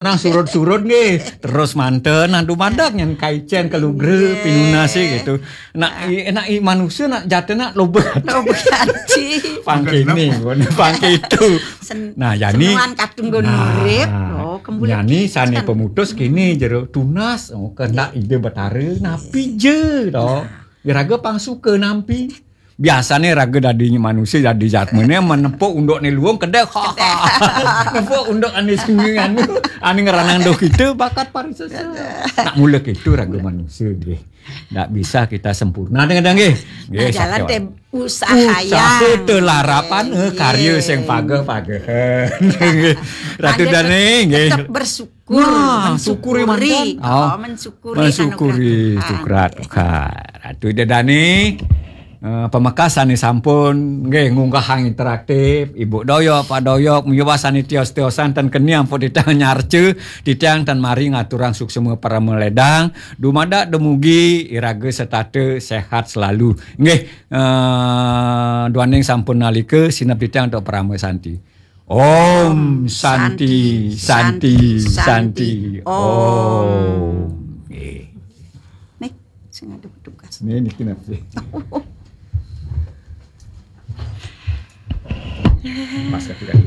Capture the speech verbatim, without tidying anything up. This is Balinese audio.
Nah, surut-surut nggih. Terus manten, nah dumadak nyen kaicen kelugra pinunase gitu. Nak i, nak i manusia nak jatena loba. Loba ati. Pangkini, pangkitu. Nah, yani senuan katunggun urip. Oh, kembali yani sane pemutus kini jero tunas. Oh, kehendak Ida Betara napi je to. Iraga pang suka nampi. Biasane raga dadi manusia, dadi jatmane menepuk unduk ne luung kedek. Ha, ha. Nepuk unduk ane senging anu, ane ngeranang doh kita bakat parisesa. Nak mula kita raga manusia nggih. Ndak bisa kita sempurna dengan nggih. Nggih, nah, jalan teh usaha yang telarapan eh, karya sing paga-paga. Nggih. Ratu Dane nggih. Tetap bersyukur. Wah, syukuri mantan. Oh, mensyukuri, mensyukuri anugerah Tuhan. Ratu Ida Dani, eh, pamekasane sampun nggih ngunggahang interaktif, Ibu Doyok, Pak Doyok, miwah sane tios-tiosan ten keni ampun titah nyarca, titiang ten mari ngaturang suksema parama ledang, dumadak dumugi iraga setata sehat selalu. Nggih, eh, duaning sampun nalika sineb titiang antuk parama santi. Om Santi, Santi, Santi, Om. Nggih. Nih, sing ada petugas. Nih, niki napa? Mas kaki-kaki.